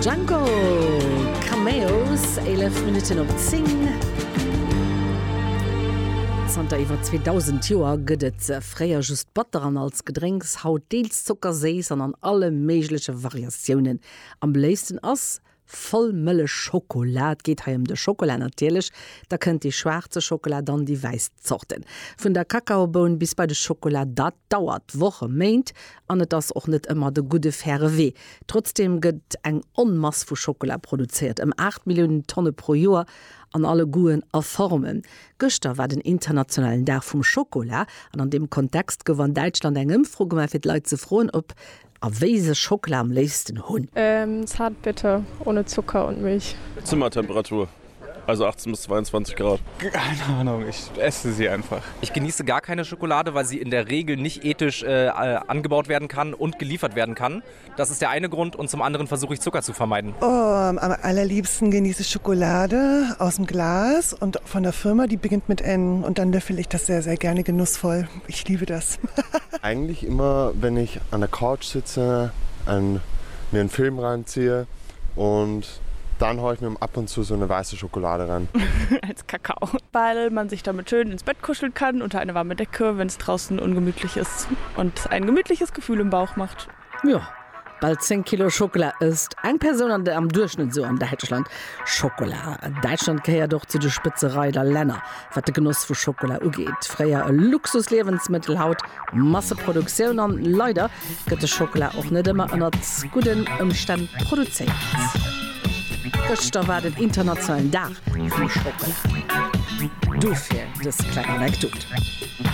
Django Cameos, 11 Minutten op 10. Zanter iwwer 2000 Joer gëtt et se. Fréier just batter an als Gedrénks, haut deels zockerséiss an an alle méigleche Variatiounen. Am beléifsten ass Vollmëllechschokola, et geet hei ëm de Schokola natierlech, da kënnt déi schwaarze Schokola, dann déi wäiss Zorten. Vun der Kakaoboun bis bei de Schokola, dat dauert Woche, Méint an et ass och net ëmmer de gudde faire Wee. Trotzdeem gëtt eng Onmass vu Schokola produzéiert, ëm 8 Milliounen Tonne pro Joer an alle Goûten a Formen. Gëschter war den internationalen Dag vum Schokola an an deem Kontext gouf an Däitschland eng Ëmfro gemaach fir d'Leit ze froen, ob a wéi se Schockela am léifsten hunn. Zartbitter ohne Zucker und Milch. Zimmertemperatur, also 18 bis 22 Grad. Keine Ahnung, ich esse sie einfach. Ich genieße gar keine Schokolade, weil sie in der Regel nicht ethisch äh, angebaut werden kann und geliefert werden kann. Das ist der eine Grund und zum anderen versuche ich Zucker zu vermeiden. Oh, am allerliebsten genieße ich Schokolade aus dem Glas und von der Firma, die beginnt mit N und dann löffel ich das sehr, sehr gerne genussvoll. Ich liebe das. Eigentlich immer, wenn ich an der Couch sitze, ein, mir einen Film reinziehe und dann haue ich mir ab und zu so eine weiße Schokolade rein. Als Kakao, weil man sich damit schön ins Bett kuscheln kann unter eine warme Decke, wenn es draußen ungemütlich ist und ein gemütliches Gefühl im Bauch macht. Jo, bal 10 Kilo Schockela ësst eng Persoun an am Duerchschnëtt esou an Däitschland. Schockela, Däitschland gehéiert och zu de Spëtzereider Länner, wat de Genoss vu Schockela ugeet. Fréier e Luxusliewensmëttel, haut Masseproduktioun. An leider gëtt de Schockela och net ëmmer ënnert gudden Ëmstänn produzéiert. Gëschter war den internationalen Dag vum Schockela, dofir dës kleng Anekdot.